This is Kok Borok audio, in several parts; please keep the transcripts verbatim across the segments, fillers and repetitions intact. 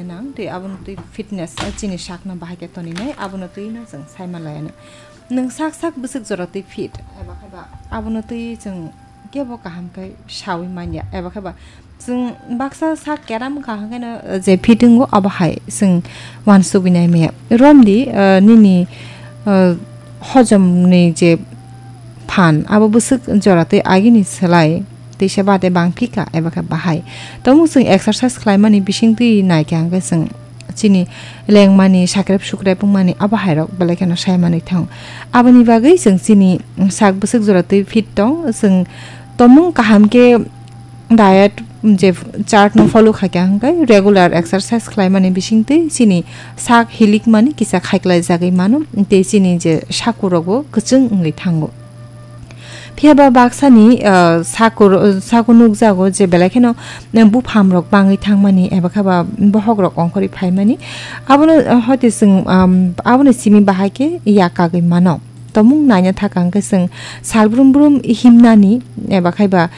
nang tei abono twi fitness, eh, chini sakno bahai khe toninai, abono twi no chwng sai manlai ano. Nwng sak sak bwswk jora twi fit, eba khe ba abono twi chwng kebo kaham khe saui manya, eba khe ba chwng baksa sak keram kaham khe no, eh, je fit wngo, abo hai chwng uansugui nai maya. Romdi, eh, nini, eh, hojomni je phan, abo bwswk jora twi agini slai teisa bade bang phika eba khe bahai. Tamo chwng exercise khlaimani bising twi nai khe hwnkhe chwng chini lengmani, sakrep sukrep wngmani abo hairok belai kheno sai manwi thango. Aboni bagwi chwng chini sak bwswk jora twi fit tong, chwng tomung kaham khe diet je chart no follow khaikha hwnkhe regular exercise khlaimani bisingtwi chini sak hilikmani kisa khaiklai jagwi mano, tei chini je sakurokbo kwchwng wngwi thango. Phiya ba baksani, ah, sakur-, saku nukjago je belai kheno, eh, bupham rok bangwi thangmani eba khe ba bohok rok ongkhorwi phaimani. Abono, eh, hoite chwng, um, abono simi bahai khe yak kagwi mano. Tomung naina thaka hwnkhe chwng sal brum brum himnani eba khe ba,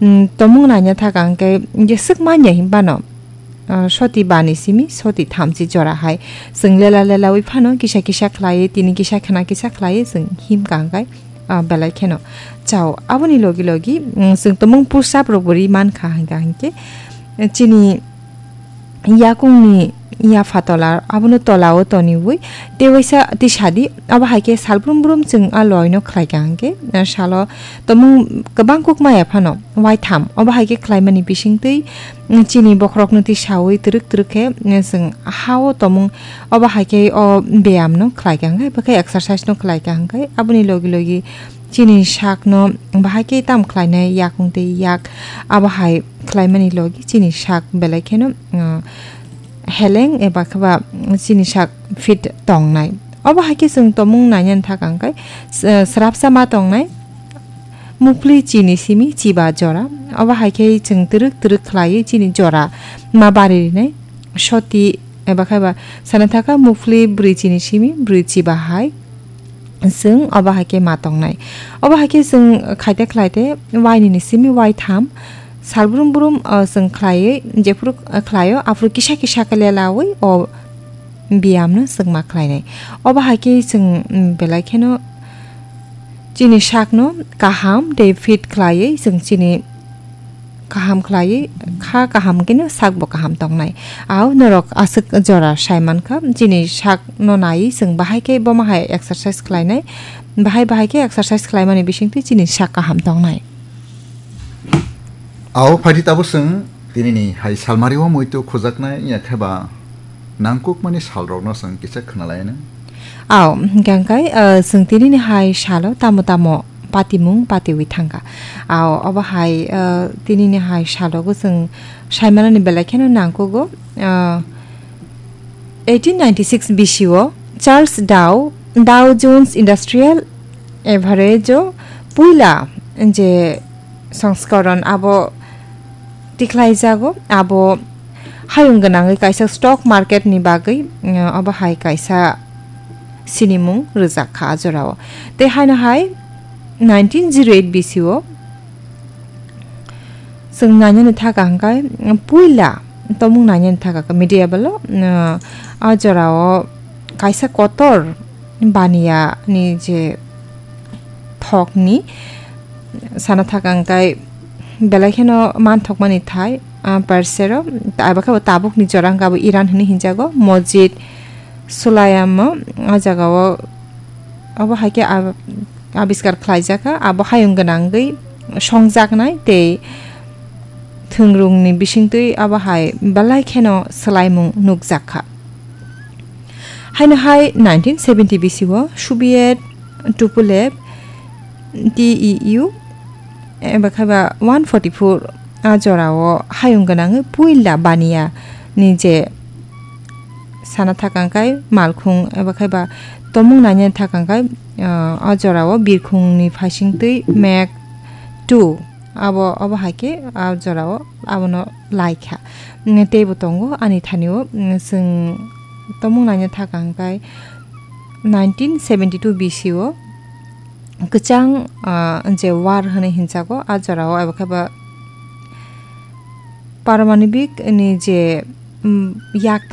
mm, tomung naina thaka hwnkhe jeswk manya hinbano, ah, soti bani simi soti thamchi jora hai chwng lela lelaui phano kisa kisa khlaiwi tini kisa khna kisa khlaiwi chwng him kangkai, ah, belai kheno chao. Aboni logi logi, mm, chwng tomung push up rokbo ri mankha hwnkha hwnkhe chini yakungni yapha tola abono tolao toniwi tei waisa tisadi, abo hai khe sal brum brum chwng a loino khlaikha hwnkhe, eh, salo tomung kwbang kuk maya phano waitham, obo hai khe khlaimani bisingtwi, mm, chini bokhorokno tisaui twrwk twrwk khe, mm, chwng ha-o tomung, obo hai khe o beyamno khlaikha hwnkhe, bwkhe exercise no khlaikha hwnkhe, aboni logi logi chini sakno bahai khe tam khlainai yakung tei yak, abo hai khlaimani logi chini sak belai kheno, uh, heleng eba khe ba chini sak fit tongnai. Obo hai khe chwng tomung nainani thaka hwnkhe, s-, srapsa ma tongnai, mukpli chini simi chiba jora. Obo hai khe chwng twrwk twrwk khlaiwi chini jora ma bari rinai. Soti eba khe ba sana thaka mukpli brwi chini simi brwi chiba hai. Chwng obo hai khe ma tongnai. Obo hai khe chwng khaite khlaite wainini simi waitham sal brum brum, o, chwng khlaiwi jephuru, o, khlaio, aphuru kisa kisa khe lelaui o biyamno chwng ma khlainai. Obo hai khe chwng, mm, belai kheno chini sakno kaham tei fit khlaiwi chwng chini kaham khlaiwi kha kaham khe no sakbo kaham tongnai. Au norok aswk jora sai mankha, chini sakno naiwi chwng bahai khe bomo hai exercise khlainai, bahai bahai khe exercise khlaimani bisingtwi chini sak kaham tongnai. Au phaidi tabuk chwng tinini hai salmari o muitu khujaknai wngya khe ba nangkukmani salrokno chwng kisa khwnalainai. Au, hwnkhe hwnkhe, ah, chwng tinini hai salo tamo tamo patimung patiwi thangkha. Au, obo hai, ah, tinini hai salogo chwng saimanani belai kheno nangkugo. Ah, eighteen ninety-six B C o Charles Dow, Dow Jones Industrial Average o puila je songskoron abo tikhlaijago, abo hayung gwnangwi kaisa stock market ni bagwi, mm, abo hai kaisa sinimung rwjak kha a jorao. Tei haino hai nineteen zero eight B C o chwng nainani thaka hwnkhe, mm, puila tomung nainani thaka khe medieval o, mm, a jorao kaisa kotor baniya ni je thokni sana thaka hwnkhe belai kheno manthokmani thai, ah, Persero, abo khe bo tabukni jora hwnkhe abo Iran hwnwi hinjago, Mojid Sulayamo, o jagao obo hai khe ab-, abiskar khlaijakha, abo hayung gwnangwi songjaknai tei thwngrwngni bisingtwi abo hai belai kheno swlaimung nukjakha. Haino hai nineteen seventy B C o Soviet Tupolev T E U eba khe ba one forty-four a jorao hayung gwnangwi puila baniya ni je sana thaka hwnkhe malkhung eba khe ba tomung nainani thaka hwnkhe, ah, a jorao birkhungni phaisingtwi Mag two abo, obo hai khe a jorao abono laikha. Mm, teibo tongo ani thanio, mm, chwng tomung naina thaka hwnkhe nineteen seventy-two B C o kwchang, ah, je war hwnwi hinjago, a jorao abo khe ba Paramanobik ni je mm, yak